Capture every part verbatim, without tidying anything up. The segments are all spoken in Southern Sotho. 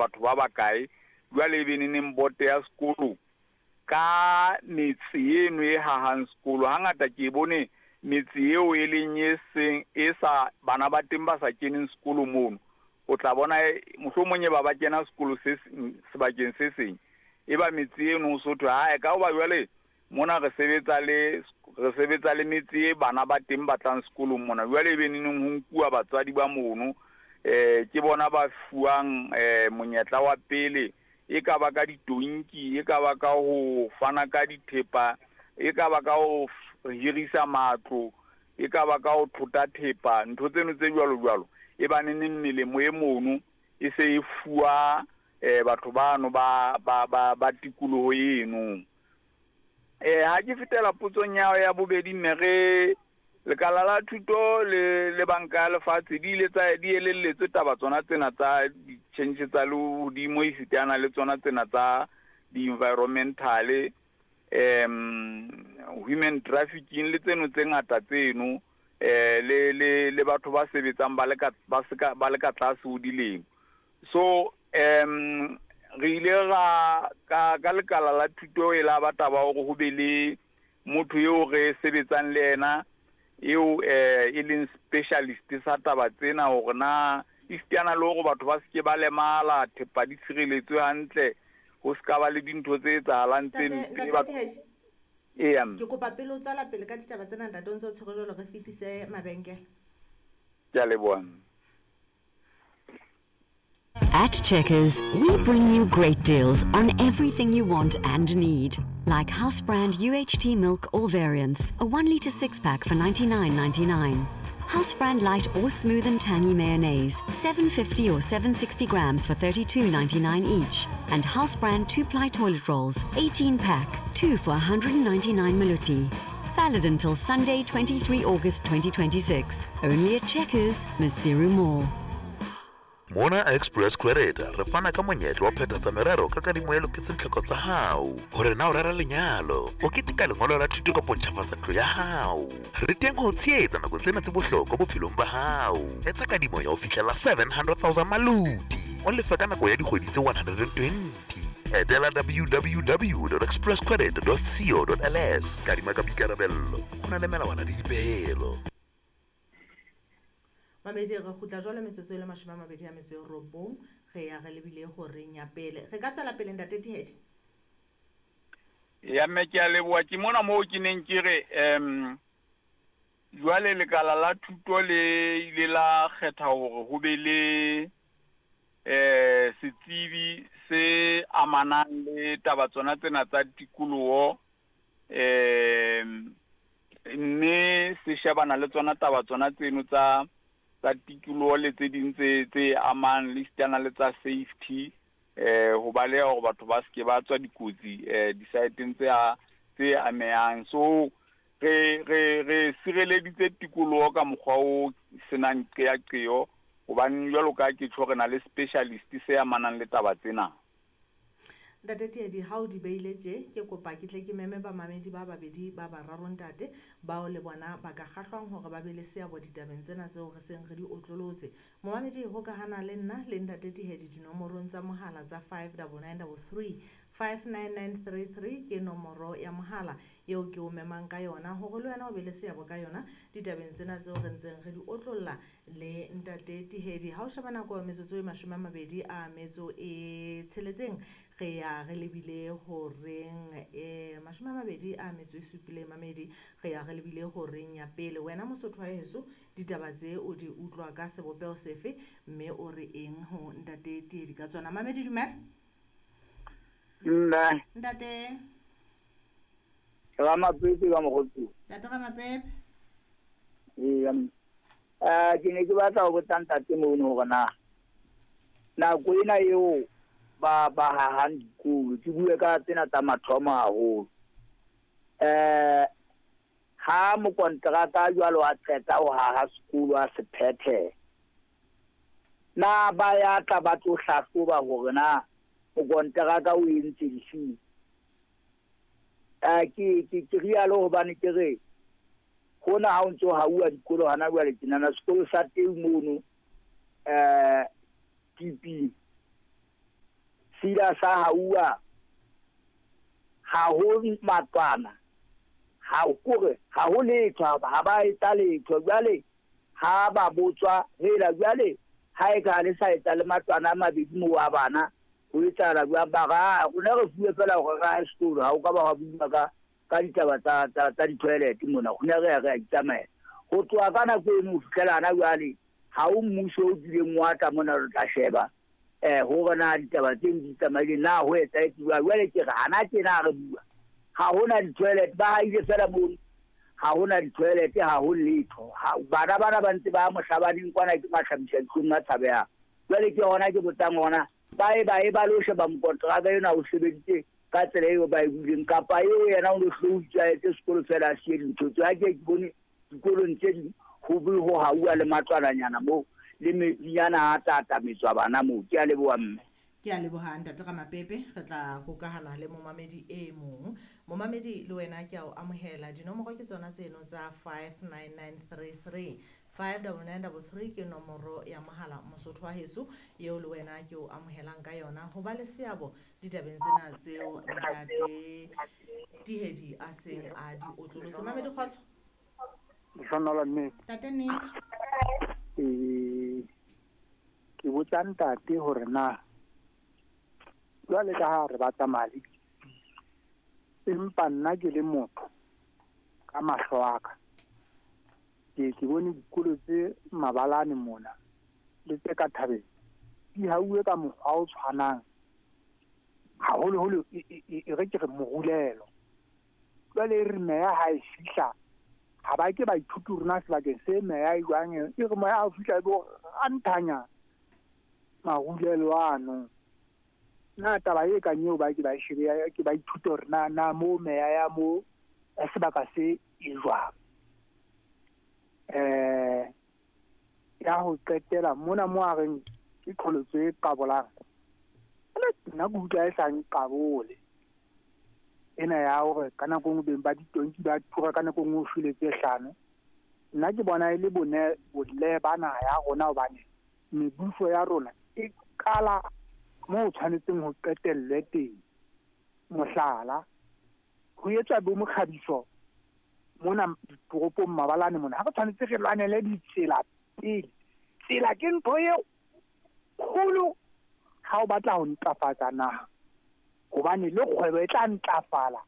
Batho ba bakae jwale e be neneng boto ya sekolo ka metse eno e hahang sekolo. Hangata ke e bone metse eo e leng e seng e sa bana ba teng ba sa keneng sekolo mono, o tla bona mohlomong e ba ba kena sekolo se sebakeng se seng, e ba metse eno ho so thwe hae ka hoba jwale mona re sebetsa le re sebetsa le metse e bana ba teng ba tlang sekolong mona. Jwale e be neneng ho nkuwa batswadi ba mono, eh ke bona ba fuwang eh monyetla wa pele, e ka ba ka ditonki, e ka ba ka ho fana ka dithepa, e ka ba ka ho hirisa matlo, e ka ba ka ho thota thepa, ntho tseno tse jwalo jwalo. E ba neneng melemo e mono e se e fuwa eh batho bano ba ba ba ba tikoloho eno. Eh ha ke fetela potsong ya ya bobedi, mme re lekala la thuto le le banka ya lefatshe di ile tsa di elelletswe taba tsona tsena tsa di-change tsa lehodimo, esitana le tsona tsena tsa di-environmental, um human trafficking le tseno tse ngata tseno, eh le le le batho ba sebetsang ba le ka ba se ka ba le ka tlase ho dilemo. So um re ile ra ka ka lekala la thuto e la ba taba hore ho be le motho eo re sebetsang le yena eo eh e leng specialist sa taba tsena, hore na esitana le hore batho ba seke ba lemala, thepa di tshireletswe hantle, ho ska ba le dintho tse etsahalang tse mpe. Eya, ke kopa pele o tswela pele ka ditaba tsena ntate, o ntse o tshwere jwalo, re fetise mabenkele. Ke a leboha. At Checkers, we bring you great deals on everything you want and need. Like house brand U H T milk, all variants, a one litre six pack for ninety-nine ninety-nine. House brand light or smooth and tangy mayonnaise, seven fifty or seven sixty grams for thirty-two ninety-nine each. And house brand two ply toilet rolls, eighteen pack, two for one hundred ninety-nine maluti. Valid until Sunday, twenty-three August twenty twenty-six. Only at Checkers, Maseru Mall. Mona Express Credit re fana ka monyetla wa phethatsa merero ka kadimo e loketseng tlhoko tsa hao. Hore na o rera lenyalo, o keteka lengolo la thuto kapa ntjhafatsa ntlo ya hao. Re teng ho tshehetsa nakong tsena tse bohlokwa bophelong ba hao. Etsa kadimo ya ho fihlela seven hundred thousand maluti, o lefe ka nako ya dikgwedi tse one hundred and twenty. Etela w w w dot express credit dot co dot l s. Kadima ka boikarabello, ho na le melawana le dipehelo. Mamedi, re kgutla jwale metsotso e le mashome a mabedi a metso e robong, re ya re lebile horeng ya pele. Re ka tswela pele ntate Tihedi? Ya mme, ke a leboha. Ke mona moo ke neng ke re um jwale lekala la thuto le ile la kgetha hore ho be le eh setsebi se amanang le taba tsona tsena tsa tikoloho, um mme se shebana le tsona taba tsona tseno tsa tsa tikoloho le tse ding tse tse amang le esitana le tsa safety, eh ho baleha hore batho ba seke ba tswa dikotsi eh di-site-eng tse tse amehang. So re re re sireleditse tikoloho ka mokgwa o senang qeaqeo, hobane jwalo ka ke tjho re na le specialist se amanang le taba tsena. Ntate Tihedi, ha o di beile tje, ke kopa ke tle ke meme bamamedi ba babedi ba bararo ntate, bao le bona ba ka kgahlwang hore ba be le seabo ditabeng tsena tseo re seng re di otlolotse. Momamedi, hokahana le nna le ntate Tihedi dinomorong tsa mohala tsa five double nine double three, five nine nine three three ke nomoro ya mohala eo ke o memang ka yona hore le wena o be le seabo ka yona ditabeng tsena tseo re ntseng re di otlolla le ntate Tihedi. Ha o sheba nako metsotso e mashome a mabedi a metso e tsheletseng, re ya re lebile horeng e mashome a mabedi a metso e supileng mamedi, re ya re lebile horeng ya pele. Wena Mosotho wa heso, ditaba tse o di utlwa ka sebopeho sefe, mme o re eng ho ntate Tihedi ka tsona? Mamedi, dumela. Nna. Ntate. Ramapepe ka mokgotsi. Ntate Ramapepe. Ee, eh ke ne ke batla ho botsa ntate mono hore na nako ena eo ba ba hahang dikolo, ke bue ka tsena tsa mathomo haholo. Eh ha mokonteraka jwalo a qeta ho haha sekolo a se phethe, na ba ya tla ba tlo hlahloba hore na mokonteraka o entse difeng? Eh ke ke ke rialo hobane ke re hona ha o ntso hauwa dikolo hana jwale tjenana, sekolo sa teng mono eh T P Se ile sa hauwa ha ho matlwana, ha kore ha ho letho, ha ba etsa letho. Jwale ha ba botswa hela jwale ha e ka le sa etsa le matlwana a mabedi mo wa bana ho etsahala jwang? Ba ra rona re fuwe fela hore ra sekolo, ha o ka ba wa bua ka ka ditaba tsa tsa di-toilet mona, rona re ya re a itsamaela. Ho tloha ka nako eno ho fihlela hana jwale ha o mmuso o kileng wa tla mona re tla sheba eh hore na ditaba tseno di tsamaile na ho etsahetse jwang. Jwale ke re hana tjena re bua ha hona di-toilet, ba haile fela mono, ha hona di-toilet, ha ho letho. Bana bana ba ntse ba mohlabaneng kwana ke mahlabisa dihlong a tshabehang. Jwale ke hona ke botsang hona ba e ba e ba lo sheba mokontraka ena o sebeditse ka tsela eo ba e buileng, kapa eo yena o no hlo o itjwaetse sekolo fela a siye dintho tseo. Ha ke ke bone dikolong tse ding ho be ho hauwa le matlwananyana moo le metsinyana a tatametswa bana moo. Ke a leboha mme. Ke a leboha ntate Ramapepe, re tla hokahana le momamedi e mong. Momamedi le wena ke a o amohela. Dinomoro ke tsona tseno tsa five nine nine three three five nine nine three three ke nomoro ya mohala Mosotho wa heso eo le wena ke o amohelang ka yona ho ba le seabo ditabeng tsena tseo ntate Tihedi a seng a di otlolotse. Mamedi kgotso. Lehlohonolo mme. Ntate Nnete. Eh ke botsa ntate hore na jwale ka ha re batla mali, empa nna ke le motho ka mahlo a ka ke ke bone dikolo tse mabalane mona le tse ka thabeng di hauwe ka mokgwa o tshwanang haholoholo e re ke re morulelo. Jwale e re meya ha e fihla ha ba ke baithuti rona sebakeng se meya e jwang, e re moya ha o fihla e bo ranthanya marulelo ano. Na taba e kang eo ba ke ba shebe ke ba ithute hore na na mo meya ya mo ya sebaka se e jwang. Eh ya ho qetela mona mo a reng ke qholotso e qabolang, nna ke utlwa e sa nqabole ena ya hore ka nako nngwe beng ba ditonki ba tura, ka nako nngwe o shwele tse hlano. Nna ke bona e le bone botle ba naha ya rona, hobane mebuso ya rona e qala moo o tshwanetseng ho qetellwe teng. Mohlala, ho etswa bo mokgabiso mona ditoropong mabalane mona, ha re tshwanetse re lwanele ditsela pele. Tsela ke ntho e kgolo ha o batla ho ntlafatsa naha, hobane le kgwebo e tla ntlafala,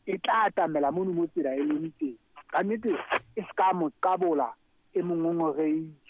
e tla atamela mono mo tsela e leng teng. Ka nnete e se ka mo qabola e mong o ngoreise.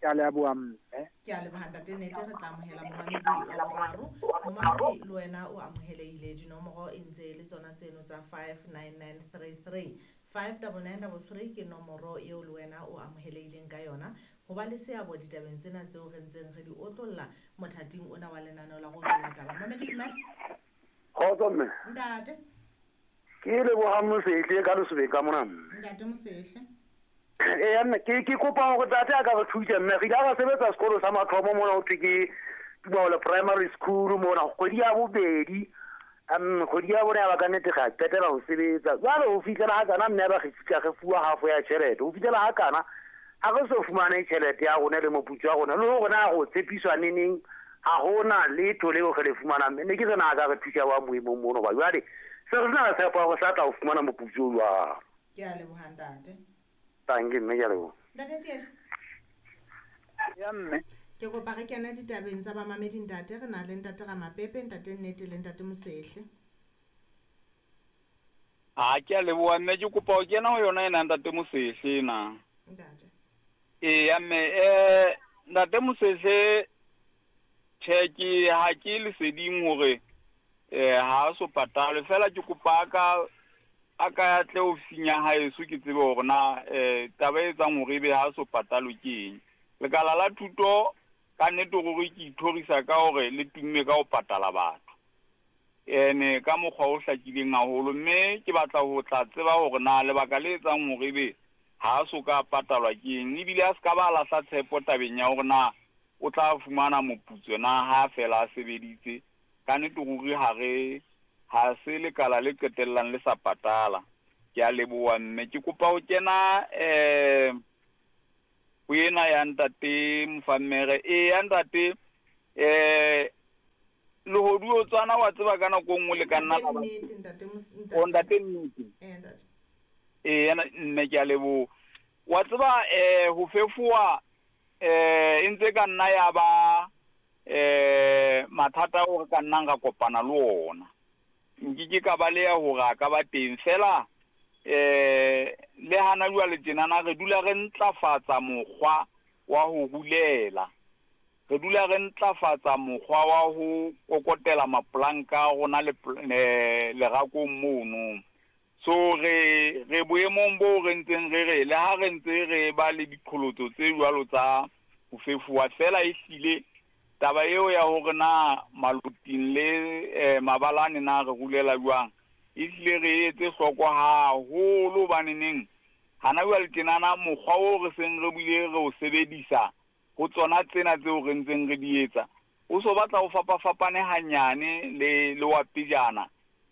Ke a leboha mme. Ke a leboha ntate Nnete, re tla amohela momamedi wa boraro. Momamedi le wena o amohelehile. Dinomoro e ntse le tsona tseno tsa five nine nine three three five nine nine three three ke nomoro eo le wena o amohelehileng ka yona ho ba le seabo ditabeng tsena tseo re ntseng re di otlolla mothating ona wa lenaneo la go otlolla taba. Momamedi dumela. Kgotso mme. Ntate. Ke leboha Mosehle ka lesobeng ka mona mme. Ntate Mosehle. Eh mme ke ke kopa hore tate a ka re thusa mme. Re ile ra sebetsa sekolo sa mathomo mona ho thwe ke Tubaole Primary School mona kgwedi ya bobedi. Um kgwedi ya bone ya ba ka nnete ga qetela ho sebetsa. Jwale ho fihlela ha kana mme ba re fihla re fuwa half ya tjhelete. Ho fihlela ha kana ha re so fumane tjhelete ya rona le moputso wa rona le hore na go tshepiswa neneng ha hona letho leo re le fumanang. Ne ke tsena a ka re thusa wa moemong mono ba jwale se re na tshepo ya hore sa tla ho fumana moputso jwang. Ke a leboha ntate. Tangi mme ke a leboha. Ntate Tieto. Ya mme. Ke kopa re kena ditabeng tsa bamamedi ntate, re na le ntate Ramapepe, ntate Nnete le ntate Mosehle. A ke a leboha mme, ke kopa ho kena ho yona ena ntate Mosehle na. Ntate. Ee mme eh ntate Mosehle tjhe ke ha ke leseding hore eh ha so patalwe, fela ke kopa ka a ka tle ofising ya haeso ke tsebe hore na eh taba e etsang hore ebe ha so patalwe ke eng. Lekala la thuto ka nnete ruri ke ithorisa ka hore le tumme ka ho patala batho ene ka mokgwa o hlakileng haholo, mme ke batla ho tla tseba hore na lebaka le etsang hore ebe ha so ka patalwa ke eng, ebile a se ka ba lahla tshepo tabeng ya hore na o tla fumana moputso na ha fela a sebeditse. Ka nnete ruri ha re ha se lekala le qetellang le sa patala. Ke a leboha mme, ke kopa ho kena eh ho ena ya ntate Mofammere. E ya ntate eh Mokoduotswana wa tseba ka nako nngwe le ka nna Ntate Nnete, ntate Mos- o ntate. Ntate Nnete. Eh, ntate. Ee, yana mme ke a leboha. Wa tseba eh ho fefowa eh e ntse ka nna ya ba eh mathata ao re ka nnang ra kopana le ona. Nkeke ka baleha hore a ka ba teng fela eh le hana jwale tjenana re dula re ntlafatsa mokgwa wa ho rulela. Re dula re ntlafatsa mokgwa wa ho kokotela mapolanka a rona le eh, lerakong mono. So re re boemong bo re ntseng re re le ha re ntse re ba le diqholotso tse jwalo tsa ho fefowa fela ehlile taba eo ya hore na maloting le eh, mabalane na re rulela jwang ehlile re etse hloko haholo hobaneneng hana jwale tjenana mokgwa o re seng re bile re o sebedisa ho tsona tsena tseo re ntseng re di etsa o so batla ho fapafapane hanyane le le wa pejana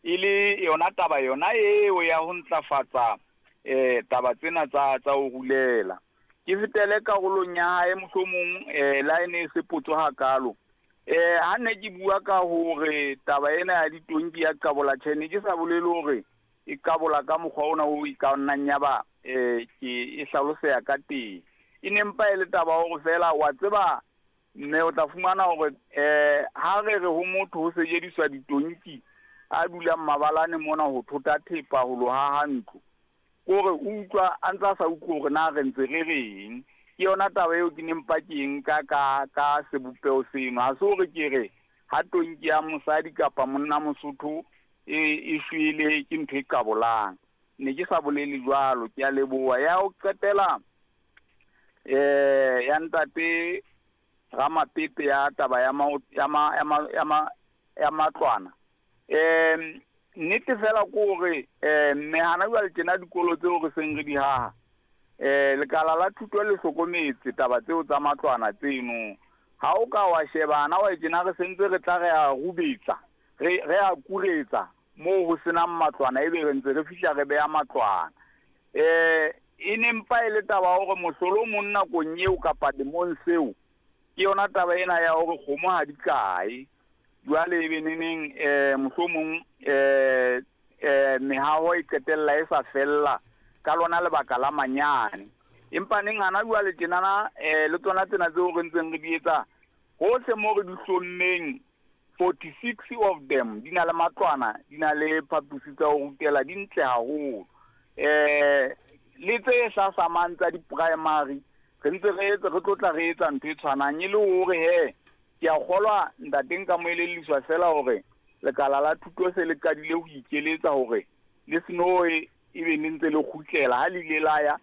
e le yona taba yona eo ya ho ntlafatsa eh taba tsena tsa tsa ho rulela. Ke fetele karolong ya hae mohlomong eh la ene e se potso hakalo. Eh ha ne ke bua ka hore taba ena ya ditonki ya qabola tjhe ne ke sa bolele hore e qabola ka mokgwa ona o e ka nnang ya ba eh ke e hlaloseha ka teng. E ne mpa e le taba hore fela wa tseba mme o tla fumana hore eh ha re re ho motho ho sejediswa ditonki a dulang mabalane mona ho thota thepa ho lo haha ntlo kore o utlwa a ntsa sa utlwe hore na re ntse re reng. Ke yona taba eo ke neng mpa ke nka ka ka sebopeho seno. Ha se hore ke re ha tonki ya mosadi kapa monna Mosotho e e shwele ke ntho e qabolang. Ne ke sa bolele jwalo, ke a leboha. Ya ho qetela eh ya ntate Ramapepe ya taba ya ma ya ma ya ma ya ma ya matlwana. Em nnete fela ke hore eh mme hana jwale tjena dikolo tseo re seng re di haha eh lekala la thuto le hlokometse taba tseo tsa matlwana tseno. Ha o ka wa shebana wa tjena re sentse re tla re a rubetsa re re a kuretsa moo ho senang matlwana ebe re ntse re fihla re beha matlwana. Eh e ne mpa e le taba hore mohlolo o mong nakong eo kapa lemong seo ke yona taba ena ya hore kgomo ha di kae. Jwale ebe neneng eh mohlomong eh eh mehaho e qetella e sa fella ka lona lebaka la manyane. Empa neng hana jwale tjenana eh le tsona tsena tseo re ntseng re di etsa hohle moo re di hlommeng forty-six of them di na le matlwana, di na le phaposi tsa ho rutela, di ntle haholo. Eh le tse hlasamang tsa di-primary re ntse re etsa re tlotla re etsa ntho e tshwanang e le hore he ke a kgolwa ntate nka mo elelliswa fela hore lekala la thuto se le qadile ho ikeletsa hore le seno e be ne ntse le kgutlela ha le ile la ya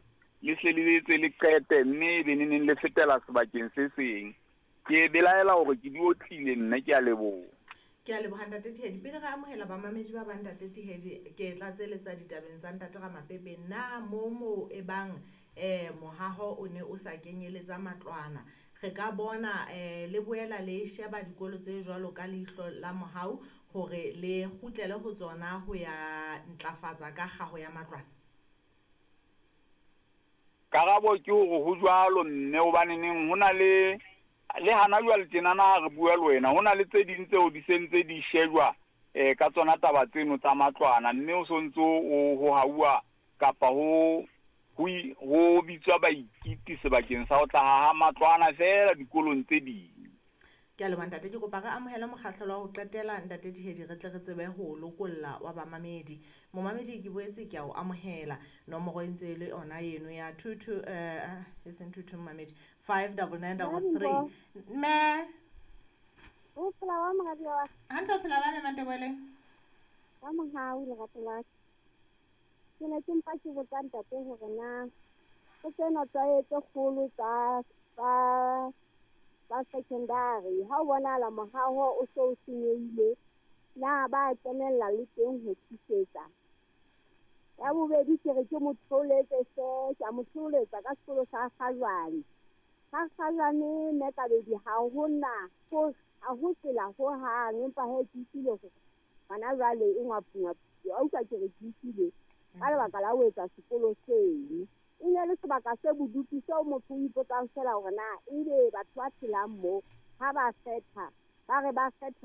le hle le etse le qete mme e be ne neng le fetela sebakeng se seng. Ke belaela hore ke di otlile nna, ke a leboha. Ke a leboha ntate Tihedi. Pele re amohela bamamedi ba bang ntate Tihedi, ke tla tseletsa ditabeng tsa ntate Ramapepe. Na mo mo e bang eh mohaho o ne o sa kenyeletsa matlwana re ka bona eh le boela le sheba dikolo tse jwalo ka leihlo la mohau hore le kgutlele ho tsona ho ya ntlafatsa ka kgaho ya matlwana? Karabo ke hore ho jwalo mme hobane neng ho na le le hana jwale tjenana ha re bua le wena ho na le tse ding tseo di sentse di shejwa eh ka tsona taba tseno tsa matlwana mme o sontso o ho hauwa kapa ho ho ho bitswa baikiti sebakeng sa ho tla haha matlwana fela dikolong tse ding. Ke a leboha ntate, ke kopa re amohele mokgahlelo wa ho qetela ntate Tihedi re tle re tsebe ho lokolla wa bamamedi. Momamedi ke boetse ke a o amohela. Nomoro e ntse e le yona eno ya two two eh e seng two two momamedi five double nine double three. Mme o phela wa moradi wa hantle, o phela ba mme Mantebele ka mohau lerato la ke ne ke mpa ke botsa ntate hore na ho tsena tsa tse kgolo tsa tsa tsa secondary ha o bonahala mohaho o so o senyehile na ba kenella le teng ho thusetsa. Ya bobedi ke re ke mo theoletse se ke a mo theoletsa ka sekolo sa Kgajwane. Sa Kgajwane mme Kabedi ha hona ho ha ho tsela hohang, empa he ke utlwile hore hona jwale e ngwapungwapu. A utlwa ke re ke utlwile ka lebaka la ho etsa sekolo seno. E ne le sebaka se bodutu seo motho o ipotsang fela hore na ebe batho ba phelang moo ha ba kgetha ba re ba kgetha